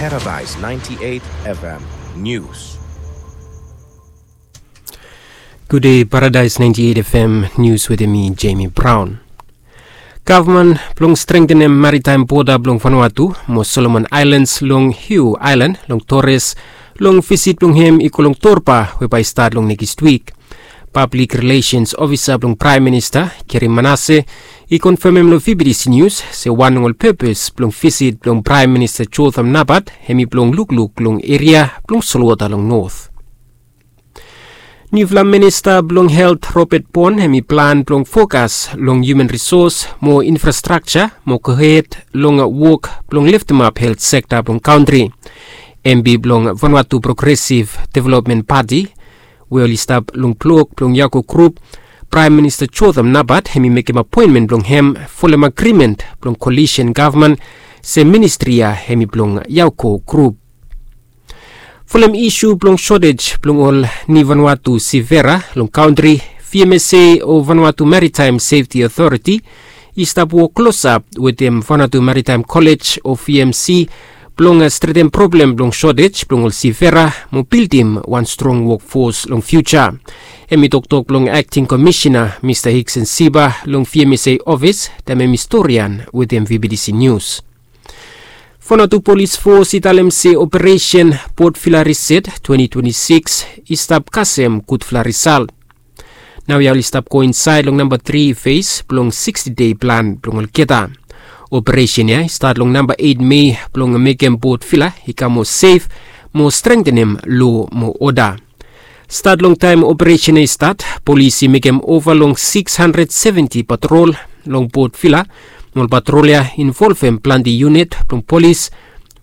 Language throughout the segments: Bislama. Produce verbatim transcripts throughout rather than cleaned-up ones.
Paradise ninety-eight F M News. Gude, Paradise ninety-eight F M News wetem mi, Jamie Brown. Gavman blong strengtenem maritaem boda blong Vanuatu mo Solomon Aelans long Hugh Aelan long Torres, long visit blong hem i go long Torba we bae i stat long nekis wik. Pablik Rilesens Ofisa blong Praem Minista, Gary Manase, i konfemem long V B D C Nius se wan long ol pepes blong visit blong Praem Minista Jotham Napat hemi blong lukluk long eria blong solwota long Not. Niufala Minista blong Helt Robert Bon hemi plan blong fokas long hiuman risos mo infrastrakja mo gohed long wok blong leftemap helt sekta blong kantri. MP blong Vanuatu Progresiv Developmen Pati, we oli stap long blok blong Yako Grup, Praem Minista Jotham Napat hemi mekem apoenmen blong hem folem agrimen blong kolisen gavman se ministri ya hemi blong Yako Grup. Folem isu blong sotej blong ol ni Vanuatu sivera long kantri, V M S A o Vanuatu Maritime Safety Authority i stap wok klosap wetem Vanuatu Maritime Kolej o V M C blong stretem problem blong sotej blong ol sivera mo bildim wan strong wokfos long fiuja. Hemi toktok blong Akting Komisena Mista Hiksen Siba long V M S A ofis taem hemi storian wetem V B D C Nius. Vanuatu Polis Fos i talem se operesen Port Vila Riset twenti twenti sikis i stap kasem gudfala risalt. Naoia oli stap go insaed long namba tri fes blong siksti dei plan blong olgeta. Operesen ya i stat long namba eit Mei blong mekem Port Vila i kam moa sef mo strengtenem lo mo oda. Stat long taem operesen ya i stat, polis i mekem ova long sikis handred seventi patrol long Port Vila. Ol patrol ya i involvem plante yunit blong polis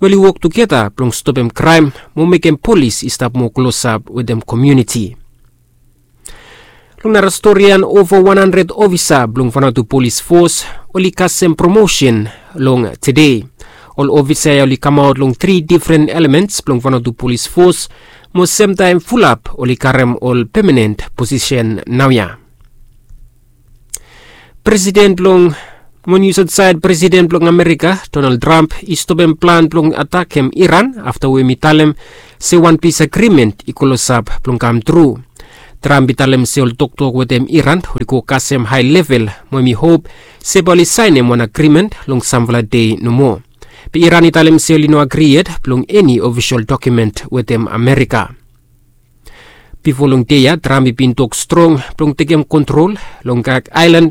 we oli wok tugeta blong stopem kraem mo mekem polis i stap moa klosap wetem komuniti. Long nara storian, ova wan handred ofisa blong Vanuatu Polis Fos oli kasem promosen long tede. Ol ofisa ya oli kamaot long tri difren elements blong Vanuatu Polis Fos, mo semtaem fulap oli karem ol pemanen posisen naoia. Presiden blong, mo nius aotsaed, Presiden blong Amerika Donald Trump i stopem plan blong atakem Iran afta we hemi talem se wan pis agrimen i klosap blong kamtru. Trump i talem se ol toktok wetem Iran oli go kasem hae level mo hemi hop se bae oli saenem wan agrimen long samfala dei nomo. Be Iran i talem se oli no agri yet blong eni ofisol dokumen wetem Amerika. Bifo long dei ya Trump i bin tok strong blong tekem kontrol long Gag Aelan,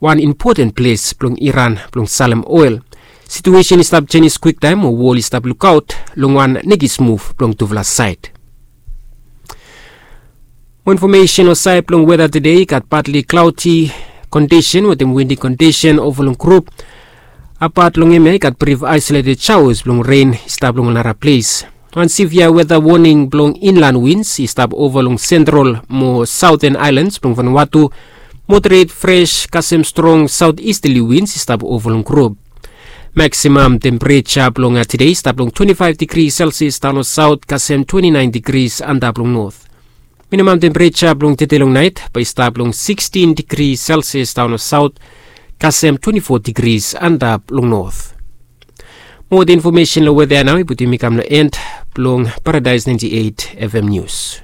wan impoten ples blong Iran blong salem oel. Situesen i stap jenis kwiktaem mo wol i stap lukaot long wan nekis muv blong tufala saed. Mo infomesen long saed blong weta tede, i gat patli klaodi kondisen wetem windi kondisen ova long grup. Apat long hemia i gat brif aesoleted shaoas blong ren i stap long ol nara ples. Wan sivia weta woning blong inlan wins i stap ova long sentral mo saoten aelans blong Vanuatu. Moderet fres kasem strong saotisterli wins i stap ova long grup. Maksimam tempereja blong tede i stap long twenti faef digri selsias daon long saot kasem twenti naen digris antap long not. Minimam tempereja blong tede long naet bae i stap long sikstin digri selsias daon long saot kasem twenti fo digris antap long not. Mo ol infomesen long weta ya nao i putum mi kam long en blong Paradise naenti eit F M Nius.